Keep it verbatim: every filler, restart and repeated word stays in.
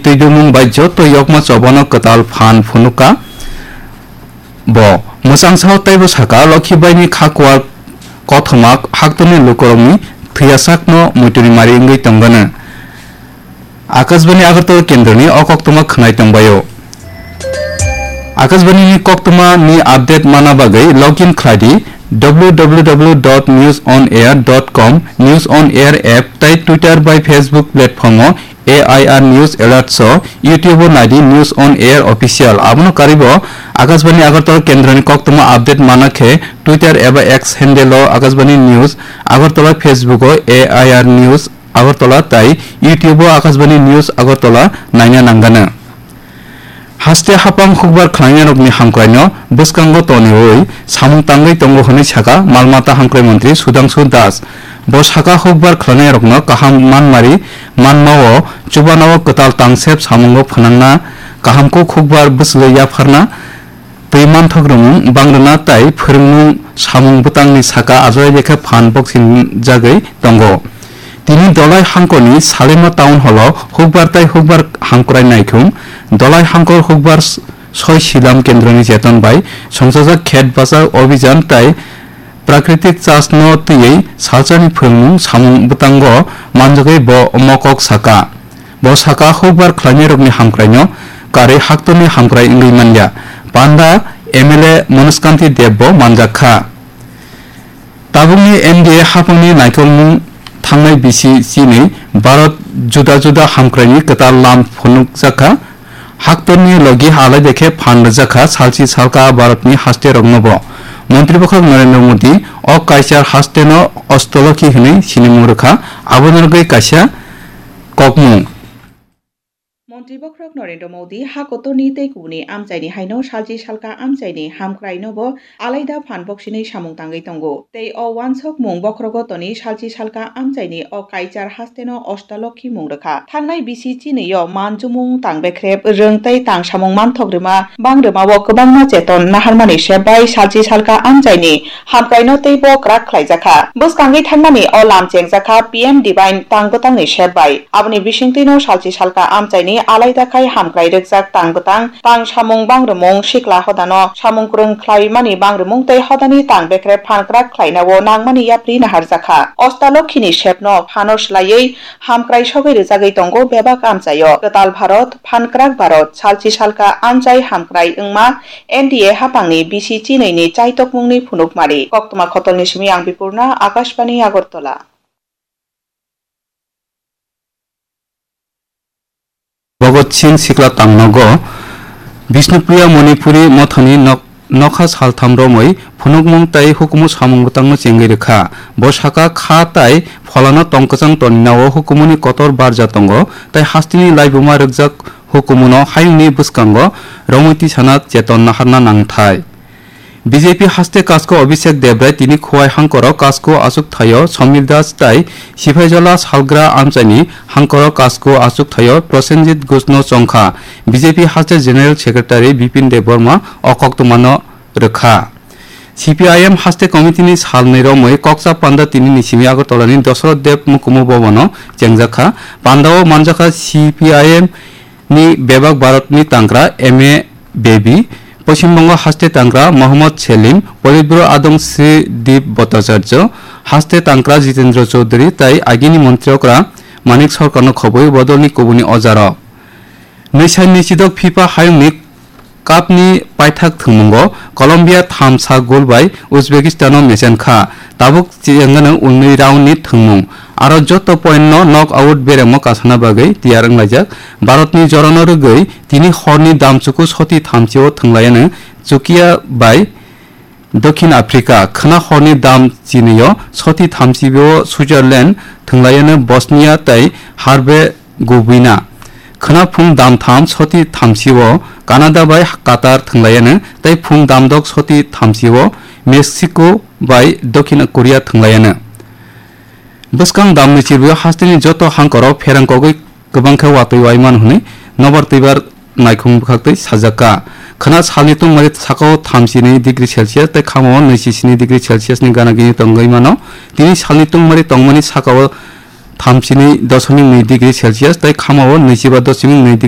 Twi dumung bai joto yokma chobano kwtal phan phunukha. Bo mwchangsa teibo sakha, Lokhi baini kha kuar kothoma haktorni lukurokni thwiyasakno muituni mari wngwi tongano. Akashbani Agartala kendroni o koktwma khwnai tongbaio. Akashbani ni koktwma ni update mana bagwi login khlai di w w w dot news on air dot com, News on Air app tei Twitter bai Facebook platform o A I R News Alerts o, YouTube o nai di News on Air Official. Abono karwi bo Akashbani Agartala kendroni koktwma update mana khe Twitter eba X handle o Akashbani News Agartala, Facebook o A I R News Agartala tei YouTube o Akashbani News Agartala naina nanggano. Haste hapang hukbar khlainairokni hamkraino bwskango toniwi samung tangwi tongo hwnwi sakha mal mata hamkrai montri Sudhangshu Das. Bo sakha, hukbar khlainairokno kaham manmari manmao chubanao kwtal tangsep samungo phwnangna, kaham kuk hukbar bwswlwi yapharna, twi manthok rwmung bangrwna tei phwrwngmung samung bwtangni saka ajai lekha phan boksinjagwi tongo. Tini Dolai Hangkorni Salema Town Hall o hukbar tei hukbar hamkrai naithung, Dolai Hangkor hukbar s-, soi silam kendroni jeton bai songchajak khet bachak obhijan tei Prakritik chasno twiwi salsani phwrwngmung samung bwtango manjagwi bo mokok saka. Bo saka, hukbar khlainairokni hamkraino karwi haktorni hamkrai wngwi manya. Panda M L A Manoj Kanti Deb bo manjak kha. Tabukni N D A haphangni naikolmung thangnai bisi chini Bharat juda juda hamkraini kwtal lam phunukjak kha. Haktorni logi alai dekhe phan rwjak kha salchi salka Bharatni haste rokno bo. Montri bwkhak Narendra Modi o kaichar haste no Ostolokhi hwnwi sinimung rwkha, aboni rwgwi kaisa kokmung. Montri bwkhak Narendra Modi ha kotorni tei kubuni amchaini haino salchi salka amchaini hamkraino bo alaida phan boksinwi samung tangwi tongo. Tei o wansokmung bokhorogo toni salchi salka amchaini o kaichar hasteno Ostalokhi mung rwkha. Thangnai bisi chinwi o manjumung tang bekrep rwng tei tang samung manthok rwma bang rwmao kwbangma cheton naharmani sep bai salchi salka amchaini hamkraino teibo kwrak khlaijakha. Bwskangwi thangmani o lam chengjakha P M Divine tang bwtangni sep bai. Aboni bisingtwino salchi salka amchaini alaida khai hamkrai rwkjak tang bwtang, tang samung bangrwmung, sikla hodano samung kwrwng khlaimani bangrwmung tei hodani tang bekrep phan kwrak khlainao nangmani yapri naharjakha. Ostalokhini sepno phano swlaiwi hamkrai sogwi rwjagwi tongo bebak amchaio. Kwtal Bharot, phan kwrak Bharot, salchi salka amchai hamkrai wngma N D A haphangni bisi chinwini chaitokmungni phunukmari. Koktwma khotolni simi ang Bipurna, Akashbani Agartala. Bhagat Singh sikla tangnogo Bishnupriya Manipuri mothani nok-, nokha saltham romwi phunukmung tei hukumu samung bwtangno chengwi rwkha. Bo saka kha tai pholano tong kwchang toninao hukumuni kotor barja tongo tei hasteni laibuma rwkjak hukumuno hayungni bwskango romwi tisana cheton naharna nangthai. B J P haste Kasko Abhishek Debrai tini Khowai hangkoro Kasko achukthaio Somil Das tai Siphaijala salgra amchaini hangkoro Kasko achukthaio Prosenjit Ghoshno chongkha. B J P haste General Secretary Bipin Debbarma o koktwmano rwkha. C P I M haste committee ni salnwi romwi kokcha panda tini ni simi Agartala ni Dosoroth Deb Mukumu Bhavan o chengjakha. Pandao manjakha C P I M ni bebak Bharat ni tangkra M A Baby, Poschim Bongo haste tangkra Mohammad Selim, Politburo adong Sri Deep Bhattacharya, haste tangkra Jitendra Chaudhary tai agini montri okra Manik Sarkar no khobwi bodol ni kubuni ojarok. Nwi sai nwi chidok FIFA hayungni Cup ni paithak thwngmungo Colombia tham sak goal bai Uzbekistan no mechen kha. Tabuk chengano unwi round ni thwngmung. Aro joto point no knock out beremo kasana bagwi tiyar wnglaijak. Bharat ni jorano rwgwi tini horni damchuku soti thamchi o thwnglaiyano Chukia bai Dokhin Africa, khwna horni dam chinwi o soti thamchi o Switzerland thwnglaiyano Bosnia tai Herzegovina. Khwna phung dam tham soti thamchi o Canada bai Qatar thwnglaiyano tei phung dam dok soti thamchi o Mexico bai Dokhin Korea thwnglaiyano. Bwskang damni chirwi hasteni joto hangkoro pherang kogwi kwbang khe watwi wai mano hwnwi nobar twibar naikhung bwkhaktwi sajak kha. Khwna salni tungmari sakao thamchi nwi degree Celsius tei khamao nwichi sini degree Celsius ni gana gini tongwi mano. Tini salni tungmari tongmani sakao thamchi nwi doshomik nwi degree Celsius tei khamao nwichi ba doshomik nwi degree